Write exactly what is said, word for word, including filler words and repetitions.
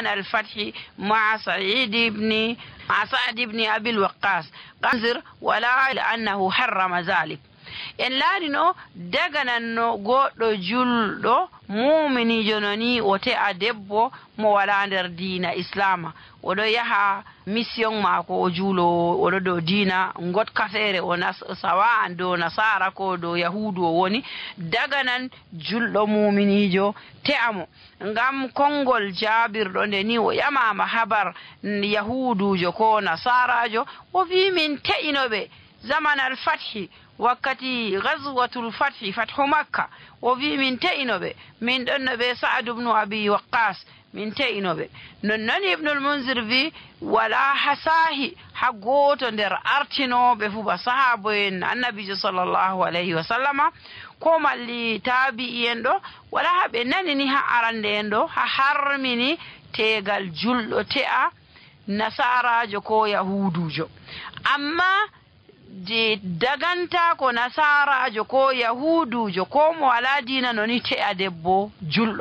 al-fathi ma'a Sa'id ibn, ma'a Sa'd ibn Abil Waqqas. Qanzir wala annahu harrama zalik. En laarino dagananno goɗɗo julɗo muuminiijo no ni o te'a debbo mo walaa nder diina Islaama. Oɗo yaha mission maako o juulo, oɗo dow diina ngotka feere o nas-, sawa'an dow nasaara ko dow yahuudu o woni, daganan julɗo muuminiijo te'a mo. Ngam konngol jaabirɗo nde ni o ƴamaama habar yahuuduujo ko nasaaraajo, o vi'i min te'ino ɓe. Zaman al-fathi, wakkati ghazwatul fathi, fathu Makka, o vi'i min te'ino ɓe, min ɗonno ɓe Sa'ad ibn Abi Waqqas, min te'ino ɓe. Non non Ibnul Munzir vi'i, walaa haa saahi haa gooto nder artinooɓe fuu ba sahaabo'en Annabiijo sallallahu alayhi wa sallama, ko malli taabi'i'en ɗo, walaa haa ɓe nanini haa arande en ɗo, haa harmini teegal julɗo te'a nasaaraajo ko yahuuduujo. Ammaa de dagantaako nasaaraajo ko yahuuduujo ko mo walaa diina no ni te'a debbo julɗo.